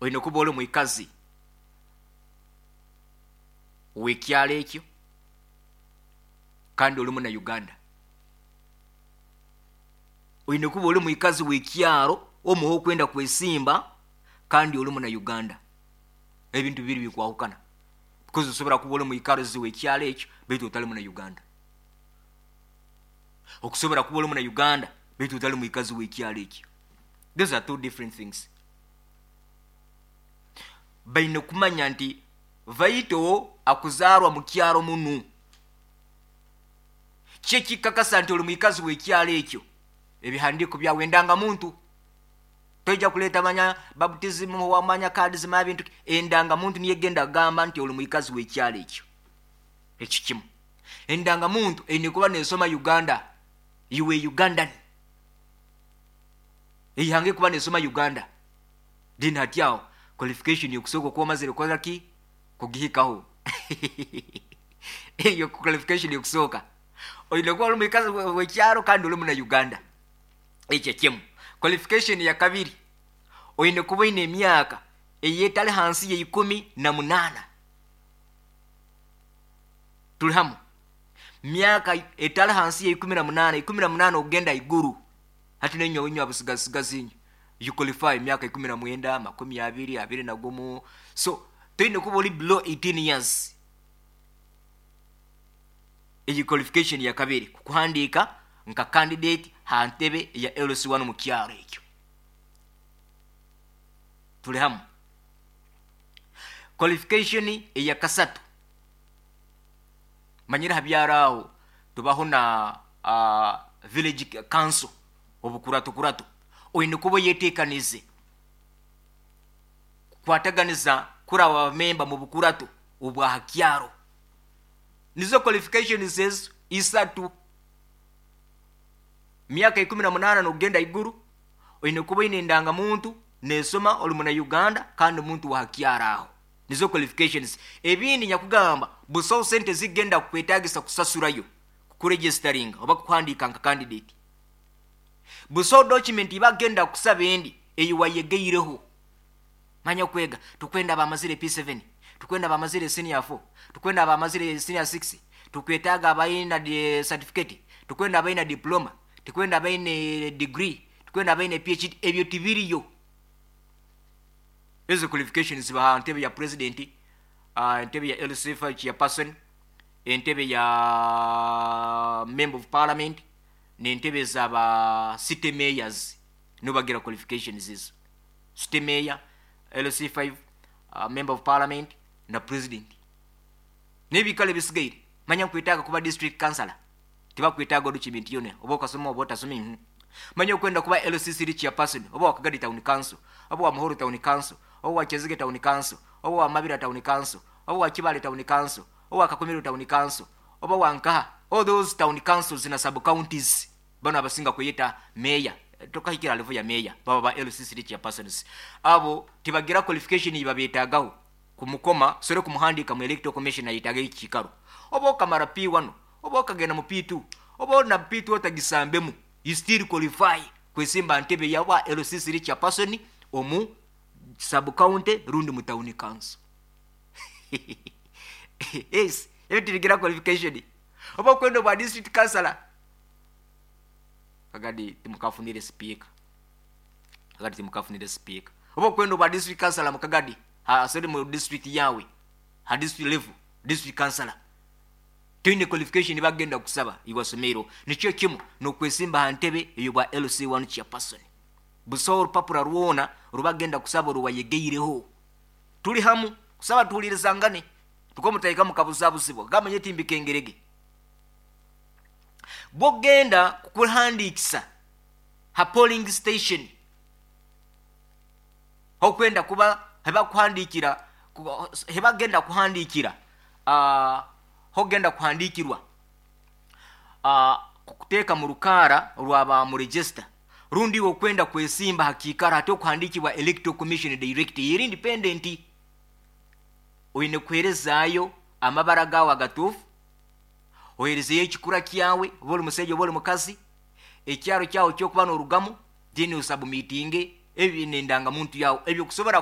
Oine kuba oli mwikazi w'ekyaro ekyo kandi oli muna Uganda. Oine kuba oli mwikazi w'ekyaro omuha okwenda kwesimba kandi oli muna Uganda. Ebintu bibiri bikwahukana, because osobora kuba oli mwikazi w'ekyaro ekyo baitu otali muna Uganda. Okusobora kuba oli muna Uganda baitu otali mwikazi w'ekyaro ekyo. Those are two different things. Baine kumanya nti Vaito akuzaarwa mu kyaro munu. Kiki ekikakasa nti oli mwikazi w'ekyaro ekyo? Ebihandiiko byawe, endangamuntu. Toija kuleeta manya baptism, wamanya cards, manya bintu. Endangamuntu niyo egenda kugamba nti oli mwikazi w'ekyaro ekyo. Ekyo kimu. Endangamuntu eine kuba nesoma Uganda. You are Ugandan. Eihanga ekuba nesoma Uganda. Then hati aho qualification yokusooka okuba omazire kukora ki? Kugihikaho. Eyo qualification yokusooka. Oine kuba ori mwikazi w'ekyaro kandi ori muna Uganda. Ekyo kimu. Qualification ya kabiri, oine kuba oine emyaka eyetali hansi ya 18. Tuli hamu. Myaka etali hansi ya 18, 18 okugenda iguru. Hati nainywe inywe abusigasigazi inywe, you qualify myaka 19, 20, 21. So toine kuba ori below 18 years. Eyi qualification ya kabiri kukuhandiika nka candidate ha ntebe ya LC1 mu kyaro ekyo. Tuli hamu. Qualification eya kasatu, manyire ha byaro aho tubaho na village council obukurato. Oine kuba oyetekanize kukwataganiza kuraba abamemba mu bukurato obwa ha kyaro. Nizo qualifications ezo isatu. Myaka 18 n'okugenda iguru, oine kuba oine endangamuntu nesoma, oli muna Uganda kandi muntu wa ha kyaro aho. Nizo qualifications. Ebindi nyakugamba busaho sente zigenda kukwetagisa kusasurayo kukuregisteringa oba kukuhandiika nka candidate. Busaho document ibagenda kusaba endi eyi wayegeireho. Manya okwega, tukwenda abamazire P7, tukwenda abamazire senior 4, tukwenda abamazire senior 6, tukwetaaga abaina certificate, tukwenda abaina diploma, tukwenda abaine degree, tukwenda abaine PhD. Ebyo tibiriyo. Ezo qualifications ziba ntebe ya president, entebe ya LC5 chairperson, entebe ya member of parliament, n'entebe z'aba city mayors. Nibo bagira qualifications ezo. City mayor, LC5, member of parliament na president. N'ebikalo ebisigaire, manya nkwetaaga kuba district councillor, tibakwetaaga document yona, oba okasoma oba otasoma. Manya okwenda kuba LC3 chairperson, oba wa Kagadi Town Council, oba wa Muhoro Town Council, oba wa Kyazige Town Council, oba wa Mabira Town Council, oba wa Kibale Town Council, oba wa Kakumiro Town Council, oba wa Nkaha, all those town councils na sub counties. Bano abasinga kweyeta mayor, tokahikira level ya mayor, baba ba LC3 chairpersons. Abo tibagira qualification ibabetagaho kumukoma sore kumuhandika mu electoral commission ayitaga ekikaro. Oba okamara P1, oba okagenda mu P2, oba na P2 otagisambemu, you still qualify kwesimba ntebe yawa LC3 chairperson omu sub county rundi mu town council. Yes, ebyo tibigira qualification. Oba okwenda obwa district councillor, Kagadi timukafunire speaker, Kagadi timukafunire speaker. Oba okwenda obwa district councillor mu Kagadi, asore mu district yawe, ha district level district councillor, toine qualification bagenda kusaba iwasomero. Nikyo kimu nokwesimba ha ntebe eyo bwa LC1 chairperson, busaho orupapura rwona rubagenda kusaba oruwayegeireho. Tuli hamu? Kusaba tuhulirizangane, tukomutaika mukabuzabuzibwa gamanye timbikengerege. Bwogenda kukuhandikisa ha polling station, okwenda kuba hebakuhandikira, hebagenda kuhandikira, hogenda kuhandikirwa, kukuteeka mu rukaara rwaba mu register, rundi iwe okwenda kwesimba hakiikaro hati okuhandikibwa electoral commission direct eri independent, oine kuheerezaayo amabara gaawe agatuufu, oheerezeyo ekikura kyawe, oba oli musaija oba oli mukazi, ekyaro kyawe kyokuba n'orugamu, then osubmitinge ebi n'endangamuntu yawe ebyo kusobora.